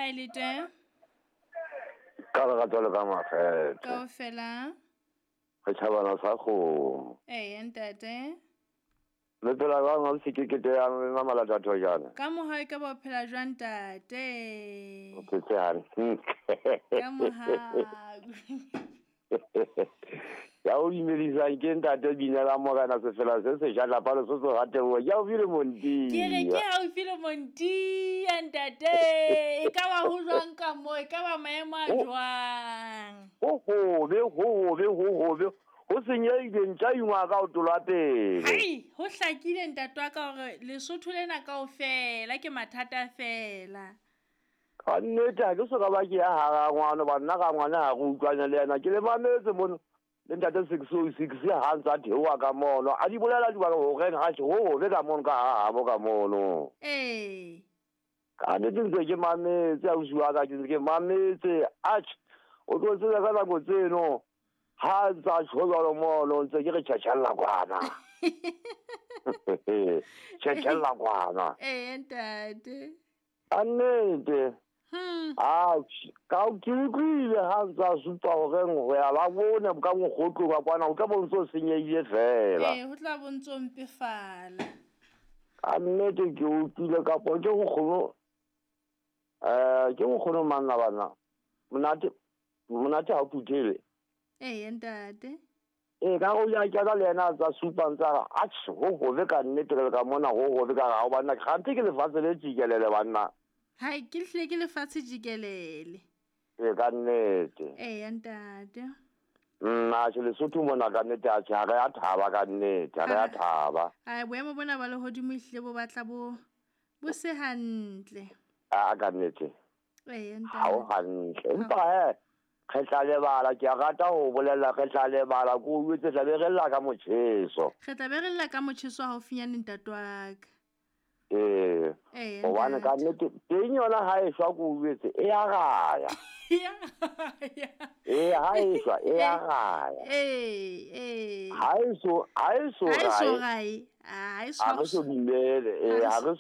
Ha e le teng. Ka lerato le ka makgethe. Kaofela. Re tjhabana sa kgomo. Eya ntate. Le phela jwang ha sekekete ya mamalata thojana? Ka mohau e ka ba o phela jwang ntate? O phetse hantle. Ka mohau. Ya o dumedisang ke ntate Binela Morena sefela se seja lapa Lesotho rateboa. Ke haufi le Montia. Ke re ke haufi le Montia ntate. E ka ba ho jwang ka mo? E ka ba maemo a jwang? Ho hobe, ho hobe, ho hobe. Ho senyehile ntja ingwa ka o tola pele. Hai, ho hlakile ntate wa ka hore Lesotho lena kaofela ke mathata fela. Ka nnete ha ke so ka ba ke ya ha rangwane hobane nna rangwane ha re utlwane le yena. Ke le mametse mono le ntate 606 ha ntsa theoha ka mono. A di bolela dibaka horeng ha ho hobe ka mono ka ha habo ka mono. Ee. Ka nnete ntse ke mametse ausi wa ka ke ntse ke mametse. Atjhe, o tlo tseba ka nako tseno. Ha ntsa tjho jwalo mono ntse ke re tjhetjhella kwana. Tjhetjhella kwana. Ee ntate. Ka nnete. Atjhe, ka ke utlwile ha ntsa supa horeng ho ya la bone ka mokgotlo ka kwana o tla bo ntso senyehile fela. Ee, ho tla bo ntso mpefala. Ka nnete ke utlwile kapo ke nkgono ke nkgono manna bana. Monate monate ha o phuthele. Ee ntate. Ee, ka go ya kena le yena tsa supa ntsa re atjhe ho hobe ka nnete re le ka mona ho hobe ka re ha banna kganthe ke lefatshe le jikelele banna. Hai, ke hlile ke lefatshe jikelele. Ee ka nnete. Ee ntate. Nna atjhe Lesotho mona ka nnete atjhe ha re a thaba ka nnete, ha re a thaba. Ai boemo bona ba lehodimo ehlile bo batla bo bo se hantle. A ka nnete. Ee ntate. Ha o hantle. Empa he re tla lebala, ke a rata ho bolela re tla lebala ko o jwetse tla be re lla ka motjheso. Re tla be re lla ka motjheso haufinyane ntate wa ka. Ee. Ee Hobane ka ntate. nnete teng yona ha e shwa ko o jwetse e a raya. Ee ha e shwa e a raya. Ee, ee. Ha e so ha e so Ha e so raye. raye. Ha e so Ha re so dumele, ee ha re so